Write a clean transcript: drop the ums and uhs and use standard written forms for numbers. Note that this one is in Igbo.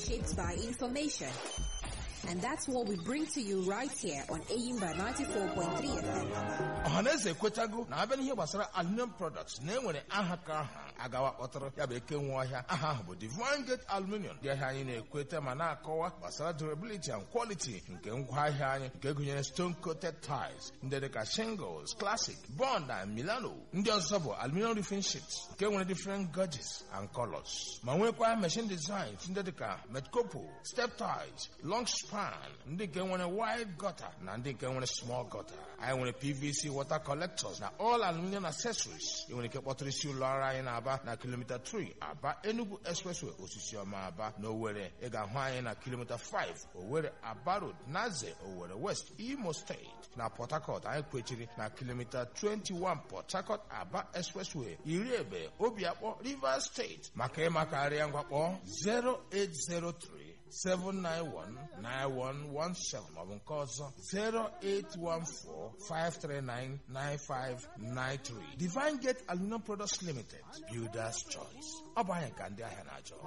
shaped by information. And that's what we bring to you right here on Eyimba 94.3 FM. Ọhaneze ekwetago na abịa n'ihe gbasara aluminium products na enwere aha ka aha agawa kpọtara ya bụ eke nwe ọhịa. Aha ahụ bụ Divine Gate Aluminium. Ndị ahịa anyị na-ekweta ma na-akọwa gbasara durability and quality nke ngwaahịa anyị, nke gụnyere stone coated tiles ndị dịka shingles, classic, bond na Milano. Ndị ọzọ bụ aluminium roofing sheets nke nwere different gauges and colors, ma nwekwa machine designs ndị dịka metcopo, step tiles, long span, ndị nke nwere wide gutter na ndị nke nwere small gutter. Anyị nwere PVC water collectors na all aluminium accessories. Ị nwere ike kpọtụrụ isi ụlọ ọrụ anyị na-aba na kilomita 3 Aba Enugu Expressway, Osisioma, Aba. Na Owerri, ị ga-ahụ anyị na kilomita 5 Owerri Aba Road, Naze, Owerri West, Imo Steeti. Na Port Harcourt, anyị kwechiri na kilomita 21 Port Harcourt Aba Expressway, Iriebe, Obiakpọ, Rivers Steeti. Maka ịmakarịa, ngwakpọ 0803 791-9117 maọbụ nke ọzọ 08145399593. Divine Gate Aluminum Products Limited, Builders Choice. Ọ bụ anyị ka ndị ahịa na-achọ.